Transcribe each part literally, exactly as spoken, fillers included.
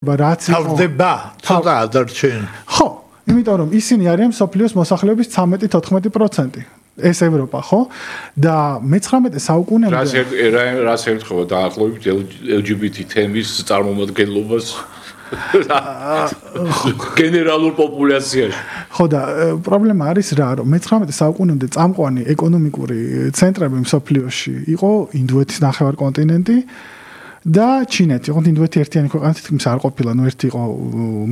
რაც თავდება ცოტა ადარჩენ. ხო, იმიტომ რომ ისინი არიან მსოფლიოს მოსახლეობის ცხრამეტი თოთხმეტი პროცენტი. ეს ევროპა, ხო? და მეცხრამეტე საუკუნემდე რას რას ერთხება დაახლოებით ელ ჯი ბი თი თემის წარმომადგენლობას გენერალურ პოპულაციაში. ხო და პრობლემა არის რა, რომ მეცხრამეტე საუკუნემდე წამყვანი ეკონომიკური ცენტრები მსოფლიოში იყო ინდოეთის ნახევარკონტინენტი და ჩინეთი. ოღონდ ინდოეთი ერთიანი ქვეყანა თითქმის არ ყოფილა, ნუ ერთი იყო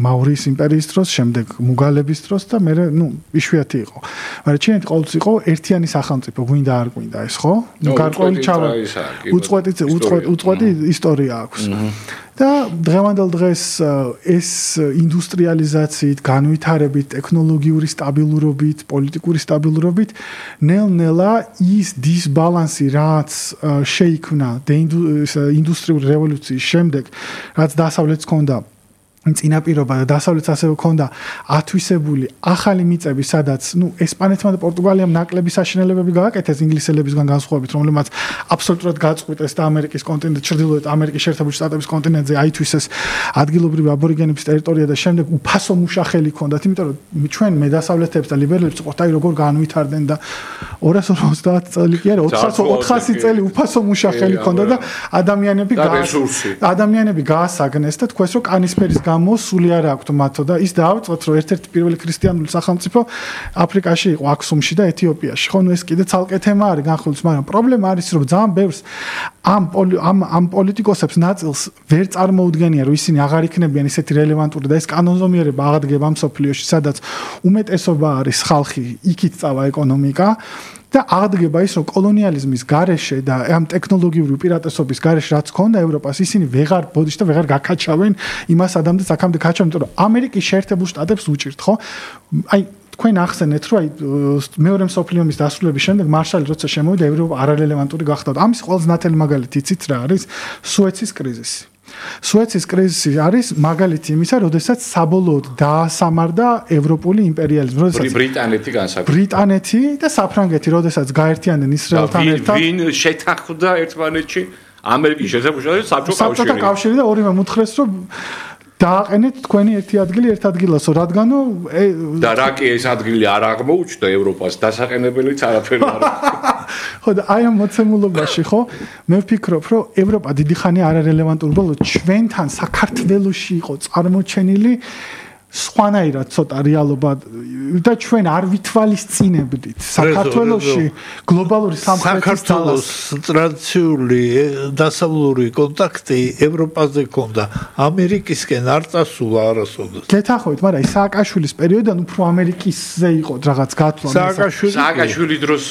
მაურიის იმპერიის დროს, შემდეგ მუგალების დროს და მე ნუ იშვიათი იყო. მაგრამ ჩინეთი ყოველთვის იყო ერთიანი სახელმწიფო, გვინდა არ გვინდა ეს, ხო? ნუ გარკვეული ჩავა უწყვეტი უწყვეტი ისტორია აქვს. და დღევანდელ დღეს ეს ინდუსტრიალიზაციით, განვითარებით, ტექნოლოგიური სტაბილურობით, პოლიტიკური სტაბილურობით ნელ-ნელა ის დისბალანსი, რაც შეიქმნა ინდუსტრიული რევოლუციის შემდეგ, რაც დასავლეთს ჰქონდა წინაპირობა და დასავლეთს ასევე ჰქონდა ათვისებული ახალი მიწები, სადაც ნუ ესპანეთმა და პორტუგალიამ ნაკლები საშინელებები გააკეთეს ინგლისელებისგან განსხვავებით, რომლებმაც აბსოლუტურად გაწყვიტეს და ამერიკის კონტინენტ, ჩრდილოეთ ამერიკის შეერთებული შტატების კონტინენტზე აითვისეს ადგილობრივი აბორიგენების ტერიტორია და შემდეგ უფასო მუშახელი ჰქონდათ, იმიტომ რომ ჩვენ მე დასავლეთებს და ლიბერალებს ვიყოთ, აი როგორ განვითარდნენ და ორასი ოცდაათი წელი კი არა, ოთხასი წელი უფასო მუშახელი ჰქონდა და ადამიანები ადამიანები გაასაგნეს და თქვეს რომ კანისფერის მოსული არ აქვს მათო და ის დაავწოთ რომ ერთ-ერთი პირველი ქრისტიანული სახელმწიფო აფრიკაში იყო აქსუმში და ეთიოპიაში. ხო, ნუ ეს კიდე ცალკე თემა არის განხილვის, მაგრამ პრობლემა არის რომ ძალიან ბევრს ამ ამ ამ პოლიტიკოსებს ნაწილს ვერ წარმოუდგენია რომ ისინი აღარ იქნებიან ისეთი რელევანტური და ეს კანონზომიერება აღადგება მსოფლიოში, სადაც უმეტესობა არის ხალხი, იქით წავა ეკონომიკა და აღდგება ის, რომ კოლონიალიზმის გარეშე და ამ ტექნოლოგიური უპირატესობის გარეშე რაც ჰქონდა ევროპას, ისინი ვეღარ ბოდიშ და ვეღარ გაკაჩავენ იმას ადამიანს აქამდე კაჩავენ, იმიტომ რომ ამერიკის შეერთებულ შტატებს უჭირთ, ხო? აი თქვენ ახსენეთ, რომ აი მეორე მსოფლიო ომის დასრულების შემდეგ მარშალი როცა შემოვიდა, ევროპა არარელევანტური გახდა. ამის ყველაზე ნათელი მაგალითი იცით რა არის? სუეცის კრიზისი. სუეცის კრიზისი არის მაგალითი იმისა, როდესაც საბოლოოდ დაასამარდა ევროპული იმპერიალიზმი, როდესაც ბრიტანეთი განსაკუთრებით ბრიტანეთი და საფრანგეთი, როდესაც გაერთიანდნენ ისრაელთან ერთად. ვინ შეთანხმდა ერთმანეთში? ამერიკის შესაძლებლად საბჭოთა კავშირი. საბჭოთა კავშირი და ორივე მუთხრეს, რომ დააყენეთ თქვენი ერთი ადგილი ერთ ადგილასო, რადგანო და რა კი ეს ადგილი არ აღმოუჩნდა ევროპას, დასაყენებელიც არაფერი არ არის. ხო და აი ამ მოცემულობაში, ხო, მე ვფიქრობ, რომ ევროპა დიდი ხანი არარელევანტური ბოლო ჩვენთან საქართველოში იყო წარმოჩენილი სხვანაირად ცოტა რეალობა და ჩვენ არ ვითვალისწინებდით საქართველოში გლობალური სამხრეთის საქართველოს ტრადიციული დასავლური კონტაქტი ევროპაზე ქონდა, ამერიკისკენ არ წასულა არასოდეს. გეთახოთ, მაგრამ ის სააკაშვილის პერიოდიდან უფრო ამერიკისზე იყო რაღაც გათვლა. სააკაშვილი სააკაშვილი დროს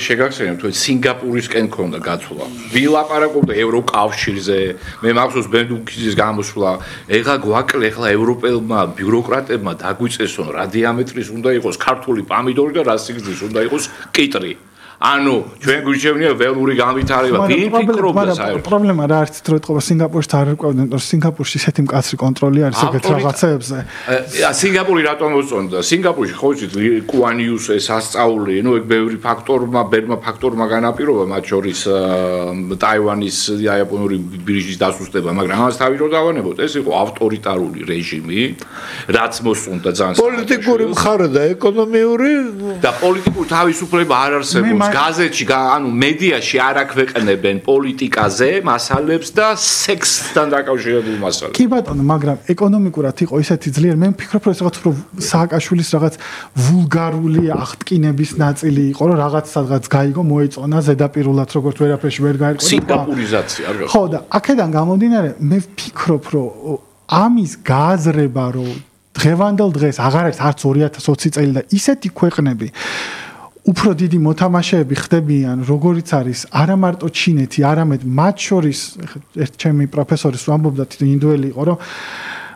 შეგახსენებთ, თუ სინგაპურისკენ ქონდა გათვლა. ვილაპარაკობდა ევროკავშირზე, მე მახსოვს ბენდუკიძის გამოსვლა, ეხლა გვაკლე, ეხლა ევროპელმა ბიუროკრატებმა დაგვიწესონ რა დიამეტრის უნდა იყოს ქართული პამიდორი და რა სიგრძის უნდა იყოს კიტრი. ანუ ჩვენ გვიჩვენია ველური განვითარება, ვინ ფიქრობდა საერთოდ? პრობლემა რა არის, რომ ეთყობა სინგაპურში არ არკვევდნენ, რომ სინგაპურში ისეთი მკაცრი კონტროლი არის ეგეთ რაღაცეებზე. სინგაპური რატომ მოწონდა? სინგაპურში ხო იცით კუანიუს ეს ასწავლი, ნუ ეგ ბევრი ფაქტორმა, ბევრმა ფაქტორმა განაპირობა, მათ შორის ტაივანის იაპონური ბირჟის დასუსტება, მაგრამ ამას თავი რო დავანებოთ, ეს იყო ავტორიტარული რეჟიმი, რაც მოსწონდა ძალიან. პოლიტიკური მხარე და ეკონომიური და პოლიტიკური თავისუფლება არ არსებობს. გაზეთში, ანუ მედიაში არ აქვეყნებენ პოლიტიკაზე მასალებს და სექსთან დაკავშირებულ მასალებს. კი ბატონო, მაგრამ ეკონომიკურად იყო ისეთი ძლიერი, მე ვფიქრობ, რომ ეს რაღაც უფრო სააკაშვილის რაღაც ვულგარული აღტკინების ნაწილი იყო, რომ რაღაც სადღაც გაიგო, მოეწონა ზედაპირულად, როგორც ვერაფერში ვერ გაერკვევა. სინგაპურიზაცია, არ ხო და აქედან გამომდინარე, მე ვფიქრობ, რომ ამის გააზრება, რომ დღევანდელ დღეს აღარ არის არც ორი ათას ოცი წელი და ისეთი ქვეყნები უფრო დიდი მოთამაშეები ხდებიან, როგორიც არის არა მარტო ჩინეთი, არამედ მათ შორის ერთ ჩემი პროფესორის ვამბობდა, ინდოელი იყო, რომ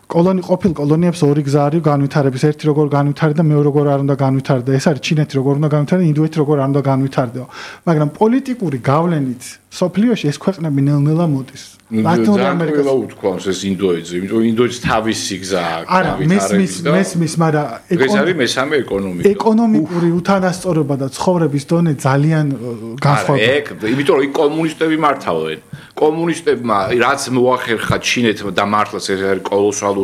კოლონი ყოფილ კოლონიებს ორი გზა არის განვითარების, ერთი როგორ განვითარდა, მეორე როგორ არ უნდა განვითარდა. ეს არის ჩინეთი როგორ უნდა განვითარდა, ინდოეთი როგორ არ უნდა განვითარდაო. მაგრამ პოლიტიკური გავლენით სოფლიოში ეს ქვეყნები ნელ-ნელა მოდის. ლათინური ამერიკა უთქვამს ეს ინდოეთზე, იმიტომ რომ ინდოეთს თავისი გზა აქვს. არა, მესმის, მესმის, მაგრამ ეს არის მესამე ეკონომიკა. ეკონომიკური უთანასწორობა და ცხოვრების დონე ძალიან განსხვავდება. არა, ეგ, იმიტომ რომ იქ კომუნისტები მართავენ. კომუნისტებმა რაც მოახერხა ჩინეთმა და მართლაც ეს არის კოლოსალური